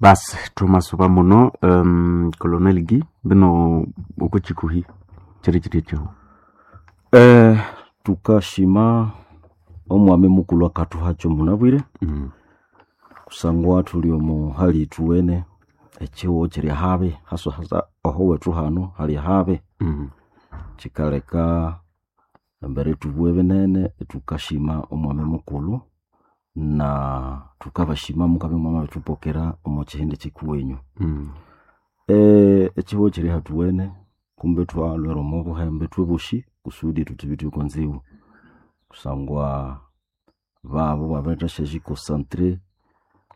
Basi twamasuba muno Colonel Guy bino oko chikuhi chiri chiri ekyihu. Tukashima omwami mukulhu akathuhakyo munabwire kusangwa thuli omo hali ithuwene ekyihugho kyiri habi hasa hasa oho wethu hano hali habi. Kyikaleka embere ithubughe binene ithukashima omwami mukulhu na thukabashima mukabya mwamabirithupokera omo kyihindi kyikuwenyu. Ekyihugho kyiri hathuwene kumbe ithwalhwera omo buhembe ithwebosi kusudi thuthibithe okonzibu kusangwa babu babirithasyasyikosantre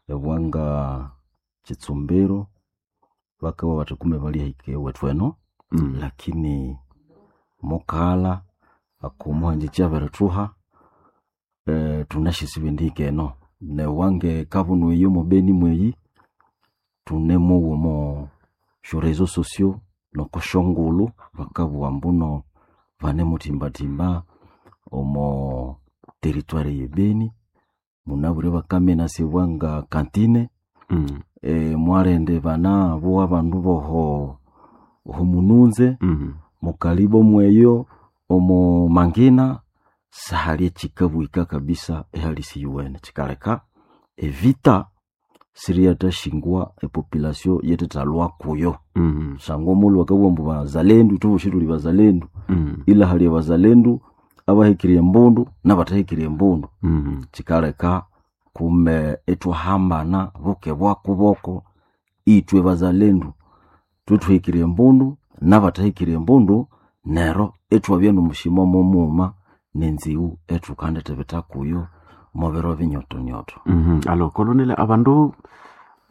ebwanga kyitsumbiro bakabugha bathi kumbe balyahika ewethu eno lakini mukaghalha okomuhangikyi abirithuha thunasyasi bendihika eno newange kabunu eyi omo Beni mweyi thunemowa omo syo réseaux sociaux noko syongulhu bakabugha ambuno banemuthimbathimba omo territoire eye Beni munabwire bakamenasibwa nga kantine mwalindi banabugha abandu boho oho Mununze mukalibo mweyo omo Mangina sihali ekyikabwika kabisa ehali isiyuwene kyikaleka evita siriyathashingwa epopulation yithethalhwa kuyo kusangwa omughulhu bakabugha ambu bazalendu ithwebosi thuli bazalendu ila hali abazalendu abahekire embundu nabathahekire embundu kyikaleka kumbe ithwahambana buke bwakuboko ithwe bazalendu thwethuhekire embundu nabathahekire embundu neryo ithwabya nomushima mumughuma nenziwu ethukandithibitha kuyo omubiro binyotonyoto. Alo Colonel abandu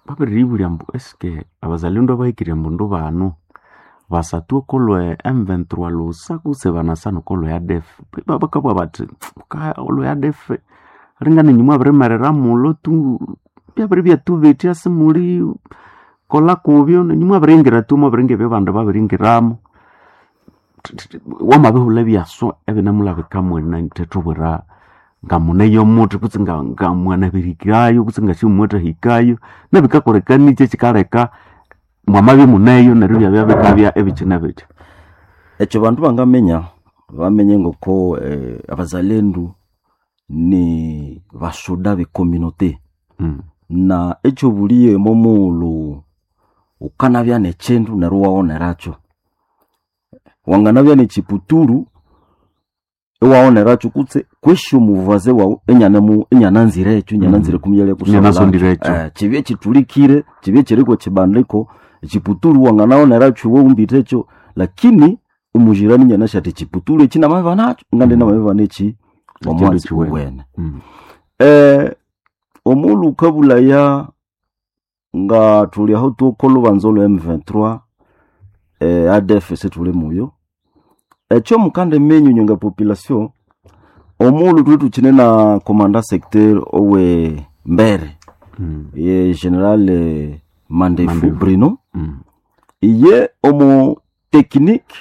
babiriyibulya ambu eske abazalendu abahekire embundu banu basathu okolwe M23 lhusa kutse banasana okolwe ADF bakabugha bathi olwe ADF ringana inywe mwabirimerera mulho tu byabiribya thubetya simuli kolha kubyo nenywe mwabiringira tu mwabiringa ebyo abandu babiringiramu wamabihulha ebyaswa ebinemulabika mwena thethubwira ngamuneyo muthi kutse ngamwanabirihikayo kutse ngasimumwathahikayo nabikakolekaniki ekikaleka mwamabya imuneyo neryo ibyabya bikabya ebikyine bitya. Ekyo bandu bangaminya bamenye ngoko abazalendu ni basoda be communauté na ekyobuliye momughulhu wukanabya nekyindu neryo iwaghonerakyo wanganabya nekyiputuru iwaghonerakyo kutse kwesi omuvaze wawu inyananzire ekyo inyananzire kumyalya Inyanasondirekyo. Kibye kithulikire kibye kyiri kwekibandiko ekyiputuru wanganaghonerakyo iwe wumbithe ekyo lakini omujirani inyanasi athi ekyiputuru ekyi namabya nakyo ngandi namabya neki omwatsi kiwene. owene. Omughulhu wukabulhaya nga thuli aho thuka olhubanza olwe M23 ADF isithuli muyo ekyo mukandiminya inywe nga population omughulhu thulwe thukyine na commandant secteur owe Mbere ye General Mandefu Mandefu. Bruno iye omo technique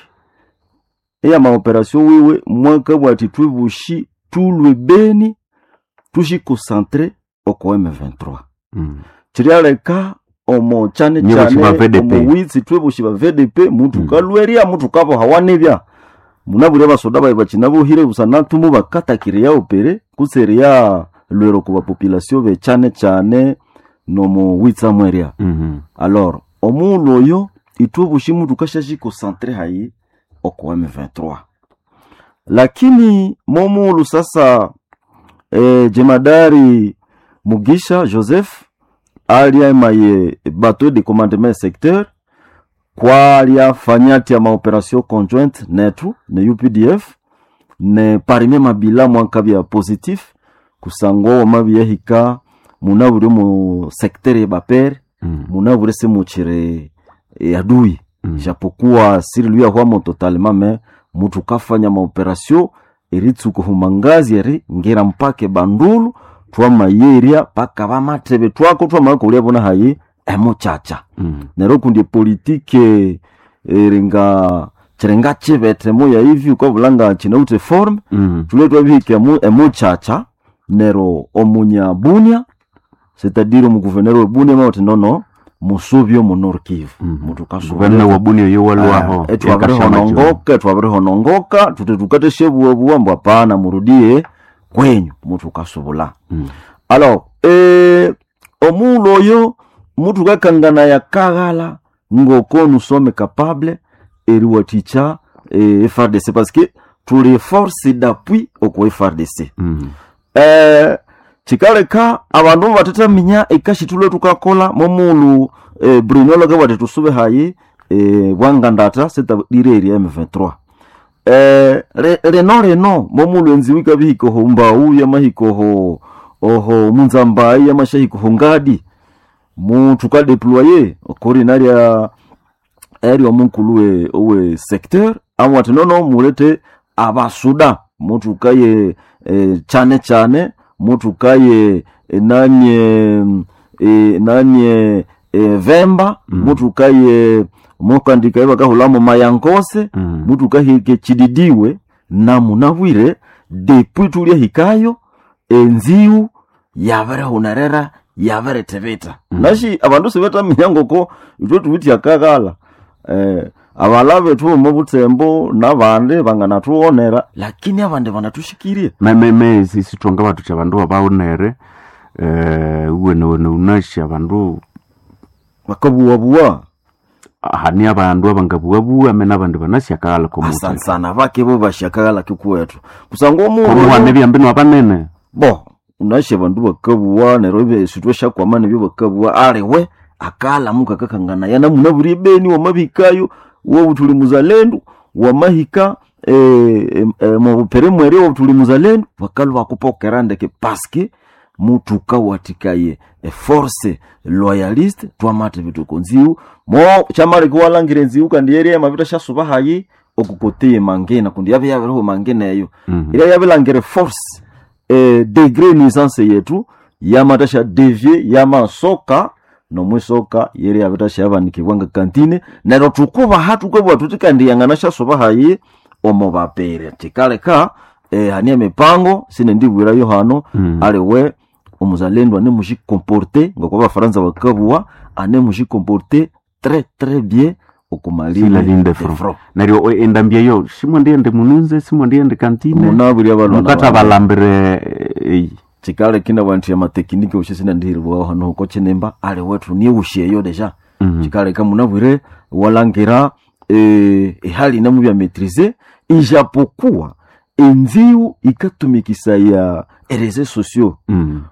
eyama operation wiwe mwakabugha athi ithwebosi thulwe Beni thusyikosantre oko M23 kiryaleka omo kyane Nyoboshi kyane ba VDP. omo witsi ithwebosi ba VDP muthukalhwerya muthukabohawa nibya munabwire abasoda bayi bakyinabohire busana thumu bakatakira opere kutse eriya lhwera oko bapopulation bekyane kyane nomo witsa mwerya alors omughulhu oyo ithwebosi muthukasyasyikosantre hayi oko M23 lakini momughulhu sasa jemadari Mugisha Joseph alya emaye bateau de commandement secteur kwalya athi ama opération conjointe nethu ne UPDF ne parmi mabila mwakabya positif kusangwa wamabyahika munabwire omu secteur yebapere munabwire simukyiri adui japokuwa siriluyahwamo totalement mais muthukafanya maoperation eritsuka ohumangazi eri ngira mpaka ebandulu thwamayerya paka bamathebe thwako thwamakolya bona hayi emukyakya neryo kundi epolitike eringa kyiringa kibethe moya ivi wukabulha nga kyinawithe form thulwe twabihika emukyakya neryo omunya Bunia c'est-à-dire omuguverneur we Bunia mwabugha athi nono Musubye omu Nord Kivu. Guverneur wa Bunia oyo walwaho. Twabirihonongoka, twabirihonongoka tuti tukateshebuwabuwa mbu hapana, murudie kwenyu mutukasubula. Alors omuulu oyo mutukakangana yakaghala ngoko nous sommes capable eriwathikya FARDC parce que tuli force d'appui oko FARDC. Kikaleka abandu batetaminya ekashithulwe tukakola momulu Bruno lwakabwati tusube hayi bwangandata sitadire eri M23. Leno leno momulu enziwu ikabihika oho mbau yamahika oho oho munzambayi yamashahika oho ngadi mutukadeploye okori narya eri omunkulu owe secteur amwati nono mulete abasuda mutukaye chane chane mutukaye nanye nanye vemba. Mutukaye mukandika bakahulamo mayankose. Mutukahike chididiwe na munabwire depuis tulyahikayo enziu yabirihunerera yabiritibita. Nashi abandu sibetaminya ngoko ithwe thuwithe akaghala abala bethu omo butembo nabandi banganathughonera lakini abandi banathushikirye. Me sithonga bathuthi abandu babaghonere uwenewene unashi abandu bakabuwabuwa. Hani abandu abangabuwabuwa me nabandi banashyakaghala komuthaka. Asansana bake bo bashyakaghala kikuwethu kusangwa omundu komuhana ebyambi nwabanene. Bo unashe abandu bakabuwa neryo esithwe syakwama nebyo bakabuwa aliwe akala mukakakanganaya namunabwire ebeni wamabihikayo wobuthuli muzalendu wamahika mubupere mweri wobuthuli muzalendu bakalwa bakupokera ndeke paske mutukawathikaye eforce loyaliste twamata ebitoko nziwu mo kyamaleka iwalhangira enziwu kandi yerya yamabitha syasuba hayi okukoteye mangina kundi yabya yabiriho mangina eyo. Irya yabilhangira force degré nuisance yetu yamata sya devier yamasoka nomwisoka yeri yabitha syabanikibwa nga kantine neryo tukubaha tukabugha thuthi kandi yangana syasuba hayi omo bapere kikaleka hani emipango sinendibwirayo hano. Aliwe omuzalendo anemujikomporte ngoko abafaransa bakabuwa anemujikomporte très très bien Sur la ligne de front. Neryo endambi eyo simwandighende mununze simwandighende kantine munabwire abalwana mukattabalambire eyi. Kikaleka inabugha nthi amatekiniki wosyo sinandihiribwaho hano oko kinimba aliwe thunighusya eyo deja. Kikaleka munabwire iwalhangira ehali inamubya maitrise ijapokuwa enziwu ikatumikisaya ereseaux sociaux.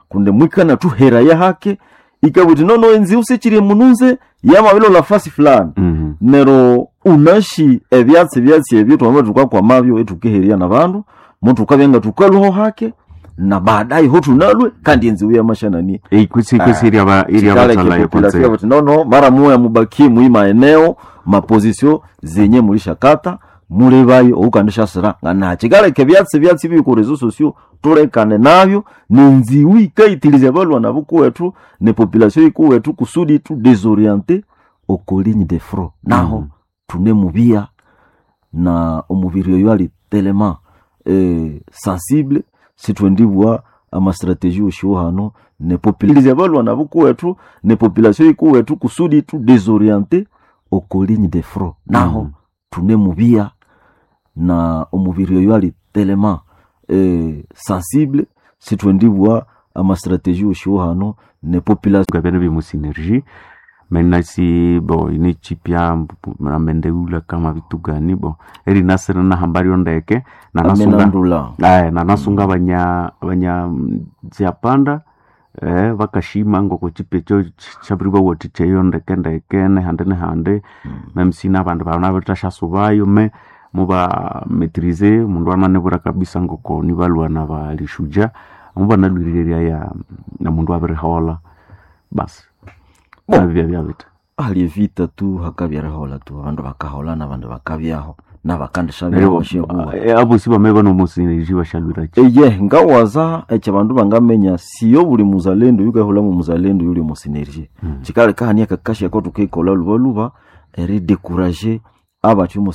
Kundi mwikanathuheraya hake ikabugha ithi nono enziwu sikyiri mununze yamabilolha fasi fulani. Neryo unashi ebyatsi byatsi ebyo twamabya thukakwamabyo ithukiherya nabandu muthukabya nga thukalwaho hake na baadaye ho thunalwe kandi enziwu yamasyanani. Kwisi kwisi iryabathalayo kwanza. Buti nono mara muya mubakie mui maeneo maposition zenye mulishakata mulebayo oukandishasira ngana kikaleka ebyatsi byatsi biri ku réseaux sociaux tulekane nabyo nenziwu ikaitiliza abalwana bukuwethu ne population ikuwethu kusudi tu désorienter oko ligne de front naho. Tunemubia na omubiri oyo ali tellement sensible sithwendibwa amastratégie oshiwo hano ne population abalwana bukuwethu ne population ikuwethu kusudi tu désorienter oko ligne de front naho. Tunemubia na omubiri oyo ali tellement sensible sithwendibwa amastratégie oshiwo hano ne population. Ngabene bimu synergie menasi bo inichipya namendeula kama vitu gani bo eri nasere nahambario ndeke nanasunga amenandula. Nanasunga banya banya nziapanda vakashima ngoko chipya cho chabiribawathikyeyo ndeke ndeke nehande nehande. Memsina abandu banabithashasubayo me muba maitrise mundu ananebwira kabisa ngoko nibalwana balishuja mubanalwirireria ya na mundu abirihola basi. Bon. Nabibya byabitha. Ali evita tu hakabyarihola tu abandu bakahola nabandu bakabyaho nabakandishabyaho Neryo basyabuwa. Abosi bame banomusiniji bashalwiraki. Eye ngawaza ekyo abandu bangamenya siyo buli muzalendo yukahulha mu muzalendo yuli mu synergie. Kikaleka hani akakasya ako thukikolha lubaluba eridécourager abathi omu.